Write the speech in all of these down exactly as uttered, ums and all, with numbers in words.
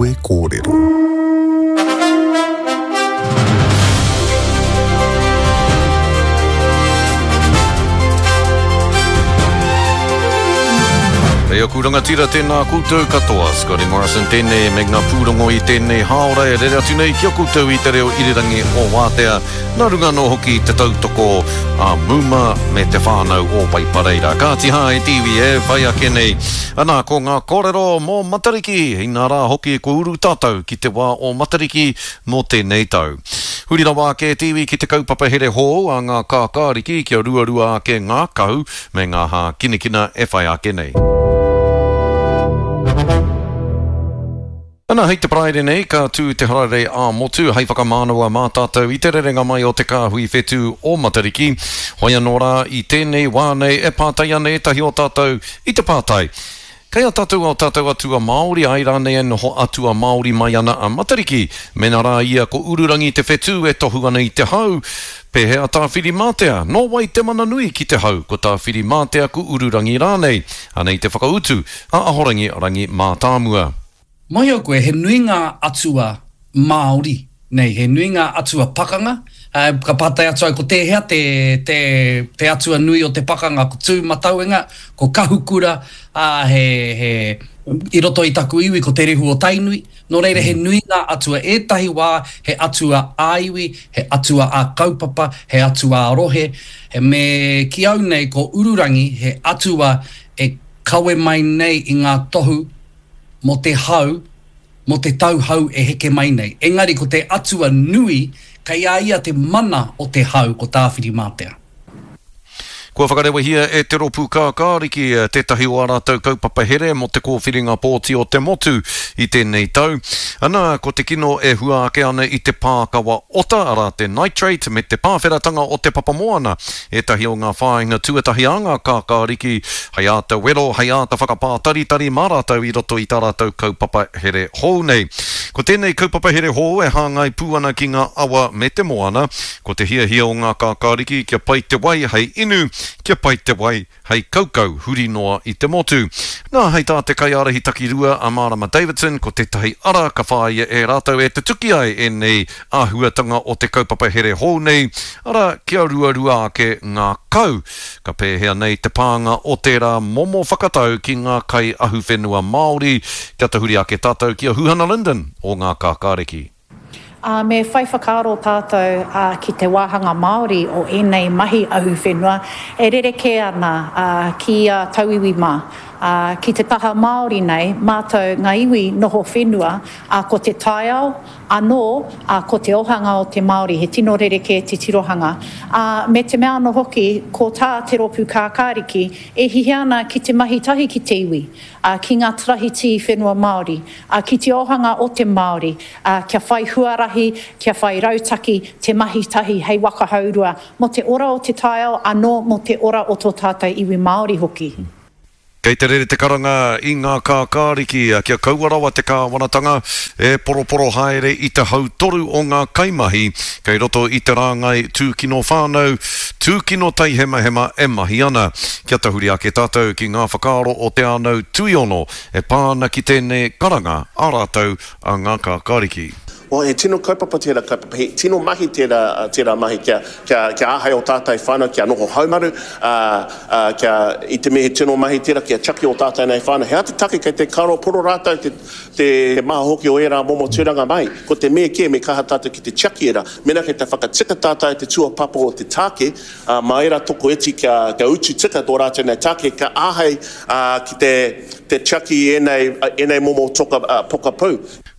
Kawe Kōrero. Hei aku rangatira tēnā koutou katoa, Scotty Morrison tēnei me ngā pūrongo i tēnei hāora e rere atu nei ki a koutou i te reo irirangi o Wātea, nā runga anō hoki te tautoko a Muma me te whānau o Waipareira. Kāti hā e te iwi e whai ake nei. Anā, ko ngā kōrero mō Matariki, inā rā hoki kua uru tātou ki te wā o Matariki mō tēnei tau. Huri rawa ake te iwi ki te kaupapa here hou a ngā kākāriki kia ruarua ake ngā kau me ngā hākinakina e whai ake nei. Ana hei te Paraire nei, ka tū te hararei ā-motu hei whakamānawa mā tātou i te rerenga mai o te kāhui whetū o Matariki. Hoi anō rā i tēnei wā nei e pātai ana ētahi o tātou i te pātai. Kei a tātou o tātou atua Māori, ai rānei e noho atua Māori mai ana a Matariki. Mena rā ia ko Ururangi te whetū e tohu ana i te hau, pēhea Tāwhirimātea, nō wai te mana nui ki te hau, ko Tāwhirimātea ko Ururangi rānei. Anei te whakautu a Ahorangi Rangi Mātāmua. Mōhio koe, he nui ngā atua Māori nei, he nui ngā atua pakanga. Ka pātai atu ai ko tēhea te, te, te atua nui o te pakanga, ko Tūmatauenga, ko Kahukura, ā, he, he, i roto i taku iwi ko Te Rehu o Tainui. Nō reira, he nui ngā atua. Ētahi wā he atua ā-iwi, he atua ā-kaupapa, he atua ā-rohe. He me ki au nei ko Ururangi, he atua e kawe mai nei i ngā tohu mō te hau, mō te tau hau e heke mai nei. Engari ko te atua nui, kei a ia te mana o te hau ko Tāwhirimātea. Kua whakarewahia e te Rōpū Kākāriki tētahi o ā rātou kaupapa here mō te kōwhiringa pōti o te motu i tēnei tau. Ana, ko te kino e hua ake ana i te pākawa ota, arā te nitrate, me te pāwheratanga o te papamoana. Ētahi o ngā whāinga tuatahi a ngā kākāriki hei āta wero, hei āta whakapātaritari mā rātou i roto i tā rātou kaupapa here hou nei. Ko tēnei kaupapa here hou e hāngai pū ana ki ngā awa me te moana, ko te hiahia o ngā kākāriki kia pai te wai hei inu, kia pai te wai hei kaukau huri noa i te motu. Nā, hei tā te kaiārahi takirua a Marama Davidson, ko tētahi ara ka whāia e rātou e te tuki ai ēnei āhuatanga o te kaupapa here hou nei, ara kia ruarua ake ngā kau. Ka pēhea nei te pānga o tērā momo whakatau ki ngā kai ahuwhenua Māori, kia tahuri ake tātou ki a Huhana Lyndon o ngā kākāriki. Uh, me whai whakaaro tātou uh, ki te wāhanga Māori o ēnei mahi ahuwhenua e rerekē ana uh, ki a tauiwi mā. Uh, ki te taha Māori nei, mātou ngā iwi noho whenua, uh, ko te taiao anō, uh, ko te ohanga o te Māori, he tino rerekē te tirohanga. Uh, me te mea anō hoki, ko tā te Rōpū Kākāriki, e hihia ana ki te mahi tahi ki te iwi, uh, ki ngā tarahiti whenua Māori, uh, ki te ohanga o te Māori, uh, kia whai huarahi, kia whai rautaki, te mahi tahi hei waka haurua, mō te ora o te taiao, anō mō te ora o tō tātou iwi Māori hoki. Kei te rere te karanga i ngā kākāriki kia kaua rawa te kāwanatanga e poroporo haere i te hautoru o ngā kaimahi kei roto i te rāngai tūkino whānau, tūkino taihemahema e mahi ana. Kia tahuri ake tātou ki ngā whakaaro o te ānau tuiono e pā ana ki tēnei karanga a rātou a ngā kākāriki. Well, he tino kaupapa tērā kaupapa, he tino mahi tērā, tērā mahi kia, kia, kia āhei o tātou whānau, kia noho haumaru, uh, uh, kia, i te mea he tino mahi tērā, kia tiaki o tātou nei whānau. He aha te take kei te karo poro rātou te, te maha hoki o ērā momo tūranga mai. Ko te mea kē, me kaha tātou ki te tiaki ērā. Mena kei te whakatika tātou te tuapapa o te tāke, uh, mā ērā toko iti kia, kia utu tika tō rātou nei tāke, kia āhei uh, ki te, te tiaki ēnei, ēnei momo toka, uh, pokapū.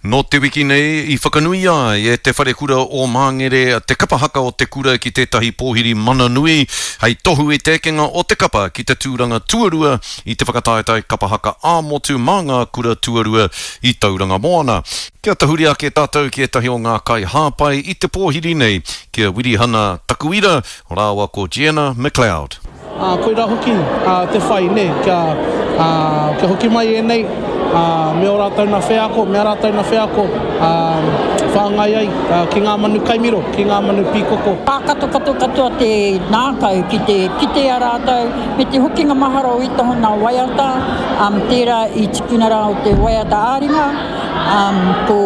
Nō te wiki nei i whakanui ai e te wharekura o Māngere te kapa haka o te kura ki tētahi pōhiri mana nui hei tohu i te ekenga o te kapa ki te tūranga tuarua i te whakataetae kapa haka ā-motu mā ngā kura tuarua i Tauranga Moana. Kia tahuri ake tātou ki ētahi o ngā kai hāpai i te pōhiri nei, ki a Wirihana Takuira rāua ko Gianna McLeod. Uh, koira hoki uh, te whai, ne, kia, uh, kia hoki mai ēnei, uh, me o rātou nā wheako, me a rātou nā wheako, uh, whāngai ai uh, ki ngā manu kaimiro, ki ngā manu pīkoko. Pākato kato katoa te nākau ki te kite a rātou, me te hokinga mahara o i tohona waiata, um, tērā i tipuna rā o te waiata āringa, Um, ko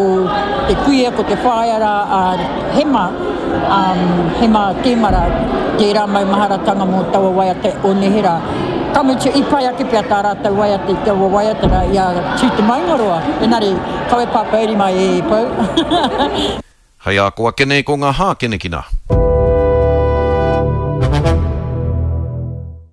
te kuia, ko te whaea rā a Hema, um, Hema Temara, tērā maumaharatanga mō taua waiata o neherā. Ka mutu, i pai ake pea tā rātou waiata i taua waiata rā i a Tū Te Maungaroa, engari, kawe pāpōuri mai e Pou. Hei a ko ake nei ko ngā hākinakina.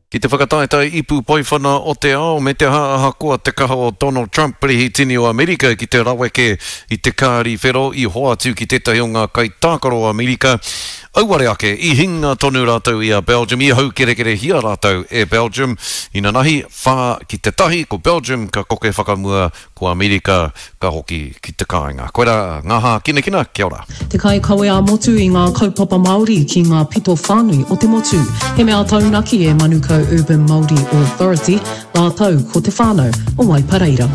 Ki te whakataetae ipu poiwhana o te ao me te aha ahakoa te kaha o Donald Trump, Perehitini o Amerika ki te raweke i te kāri whero i hoatu ki tētahi o ngā kaitākaro o Amerika, auare ake i hinga tonu rātou i a Belgium, i haukerekerehia rātou e Belgium inanahi, whā ki te tahi, ko Belgium ka koke whakamua, ko Amerika ka hoki ki te kāinga. Koirā ngā hākinakina, kia ora. Te kaikawe ā-motu i ngā kaupapa Māori ki ngā pito whānui o te motu. He mea taunaki e Manukau Urban Māori Authority rātou ko te whānau o Waipareira.